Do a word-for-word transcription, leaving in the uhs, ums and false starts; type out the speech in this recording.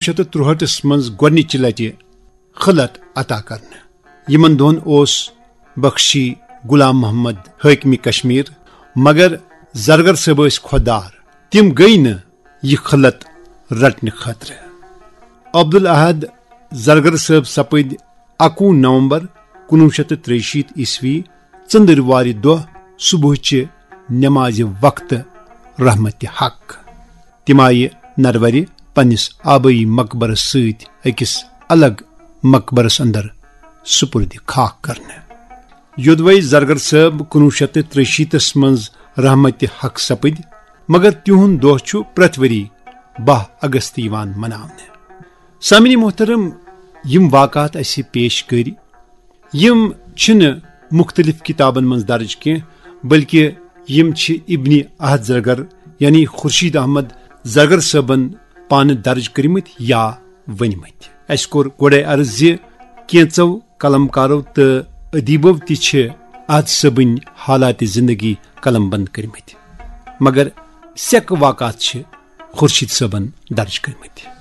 شیٚتھ تہٕ ترُہٲٹھس منٛز گۄڈٕنِچہِ لٹہِ خلعت عطا کرنہٕ۔ یِمن دۄہن اوس بخشی غلام محمد حٲکمِ کشمیر، مگر زرگر صٲب ٲسۍ خۄدار، تِم گٔیۍ نہٕ یہِ خلعت رٹنہٕ خٲطرٕ۔ عبدالاحد زرگر صٲب سپٕدۍ اَکوُہ نومبر کُنوُہ شیٚتھ تہٕ ترٛیہِ شیٖتھ عیسوی ژٔندٕروارِ دۄہ صبحٕچہِ نمازِ وقتہٕ رحمتِ حق۔ تِم آیہِ نروَرِ پننِس آبٲیی مقبرس سۭتۍ أکِس الگ مقبرس اندر سپرد خاک کرنہٕ۔ یودوے زرگر صٲب کُنوُہ شیٚتھ تہٕ ترٛیہِ شیٖتس منٛز رحمتِ حق سپٕدۍ، مگر تِہُنٛد دۄہ چھُ پرٛٮ۪تھ ؤری باہ اگست یِوان مناونہٕ۔ سامعین محترم، یِم واقعات اَسہِ پیش کٔرۍ، یِم چھِنہٕ مُختٔلِف کِتابَن منٛز درٕج کینٛہہ، بلکہِ یِم چھِ ابن احد زرگر، یعنی خورشید احمد زرگر صٲبَن پانہٕ درٕج کٔرمٕتۍ یا ؤنمٕتۍ۔ اَسہِ کوٚر گۄڈَے عرض زِ کینٛژو قلم کارو تہٕ ادیبو تہِ چھِ احد صٲبٕنۍ حالات زندگی قلم بند کٔرمٕتۍ، مگر سیکہٕ واقعات چھِ خورشید صٲبَن درٕج کٔرمٕتۍ۔